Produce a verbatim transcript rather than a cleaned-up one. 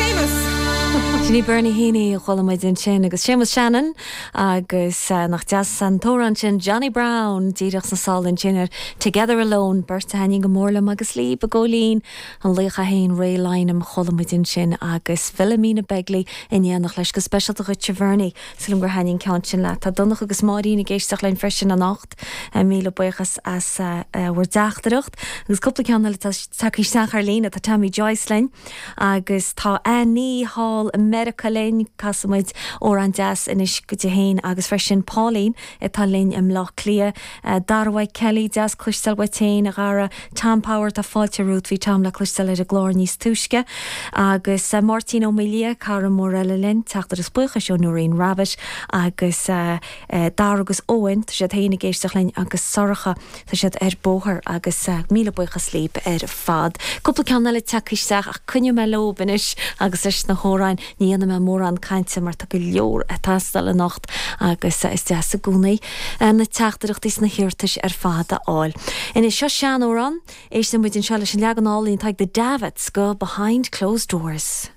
Seamus. Sin í Bernie Heaney a chuala muid ansin agus Seamus Shannon agus uh, nach deas an t-amhrán sin Johnny Brown díreach sna sála ansin ar Together Alone beirt a thaitníonn go mór liom agus Lee Begolín an laoch é féin Ray Lynam a chuala muid ansin agus Philomena Begley in éineacht leis go speisialta dhuit Bernie Sílim gur thaitin an ceann sin leat tá Donncha agus Máirín ag éisteacht linn freisin anocht míle buíochas as bhur dteachtaireacht agus cúpla ceann eile tagtha isteach ar líne tá Tammy Joyce linn agus tá Annie Hall America linn casfaimid amhrán deas anois go dtí féin agus freisin Pauline atá linn i mBleá Cliath Darwai Kelly deas cloisteáil uait féin a Dhara Tom Power tá fáilte romhat bhí Tom le cloisteáil ar an gclár níos túisce agus uh, Martin Ó Mília cara mór eile linn teachtaireacht buíochais ó Noreen Rabbit agus uh, uh, Dar agus Owen tá siad féin ag éisteacht linn agus Sorcha tá siad ar bóthar agus uh, míle buíochas libh ar fad. Cúpla ceann eile tagtha isteach ach coinneoidh mé leo anois agus leis na hamhráin ní dhéanfaidh mé mórán cainte mar tá go leor ag teastáil anocht agus is deas i gcónaí na teachtaireachtaí sna hiarratais ar fad a fháil. Anois seo seanamhrán éisteann muid anseo leis an leagan álainn atá ag The Davits go behind closed doors.